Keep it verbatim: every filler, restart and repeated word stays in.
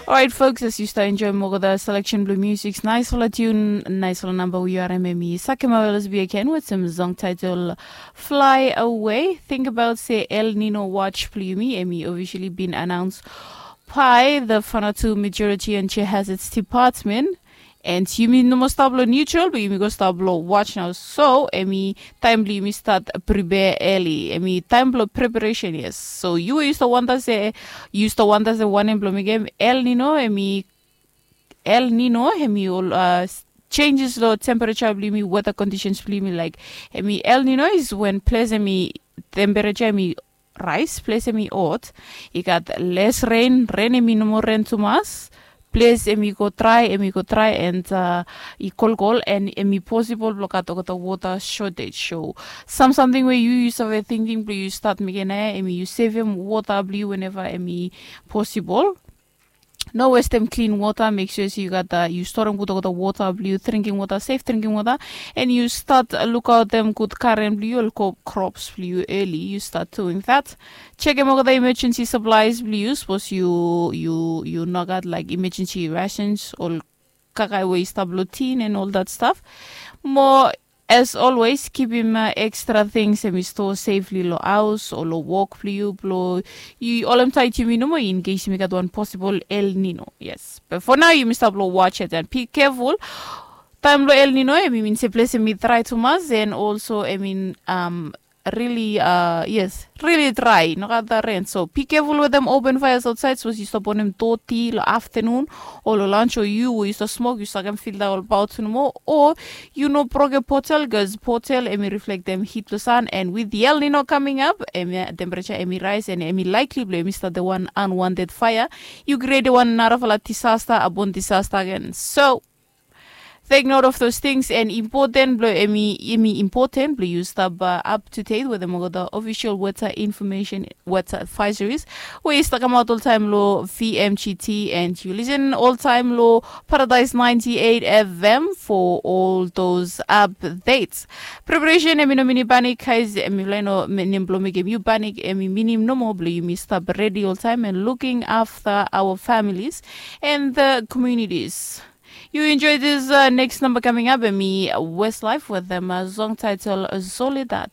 Orait folks, as yu stap enjoim olgeta seleksen blong musik, naisfala tiun, naisfala namba we yu harim, em i Sakema L S B again wetem song title Fly Away. Tingbaot se El Nino watch blong yumi em i officially bin announce by the Vanuatu Meteorology and Geohazards Department. And yumi no moa stap long neutral, but yumi go stap long watch nao. So em i taem blong yumi stat prepare early. Em i taem blong preparation, yes. So yu we yu stap wanda se, yu stap wanda se wanem blong mekem El Nino, em i El Nino em i ol uh, changes long temperature blong yumi, weather conditions blong yumi, like em i El Nino is when ples em i temperature em i rais, ples em i hot, i gat les ren, ren em i no moa ren tumas, ples em i go drai, em i go drai, and uh, i kolkol, and em i posibol blong gat olgeta water shortage. So sam samting we yu yu save tingting blong yu stat mekem nao, em i yu sevem water blong yu whenever em i posibol. No westem klin wota, mek sua se yu gat uh, yu storem gud olgeta wota blong yu, drinking wota, sef drinking wota, and yu stat lukaotem gud garen blong yu, ol crops blong yu early. Yu stat doing that. Chekem olgeta emergency supplies blong yu, sapos yu yu yu no gat like emergency rations, ol kakae we i stap long tin and all that stuff. Mo as always, kipim uh, extra things em i store safely long haus o long wok blong yu, blong yu holem tight yumi nomo in case yumi gat wan possible El Nino. Yes, but for now yumi stap long watch it and be careful. Taem blong El Nino em i min se ples em i drai tumas, and also em i um, really uh, yes, really drai, no gat da ren. So be careful wetem open fires outside, sapos yu stap bonem doti long aftanun o long lunch, o yu we yu stap smok yu sakem filta olbaot nomo, o yu no broke potel, bikos potel em i reflektem hit blong san, and with the El Nino coming up, em ya temperature em i rise, and em i likely blong em i start the one unwanted fire. Yu create one narafala disaster upon disaster again. So take note of those things, and important blong em i important blong yu stap uh, up to date wetem olgeta official weather information, weather advisories we i stap kamaot oltaem long V M G T, and yu listen oltaem long Paradise ninety-eight F M for all those updates. Preparation em i no minim panic, guys. Em i laik no nem blong mekem yu panic. Em i minim nomo blong yumi stap ready oltaem and looking after our families and the communities. You enjoy this uh, next number coming up, em i Westlife with them uh, song title Soledad.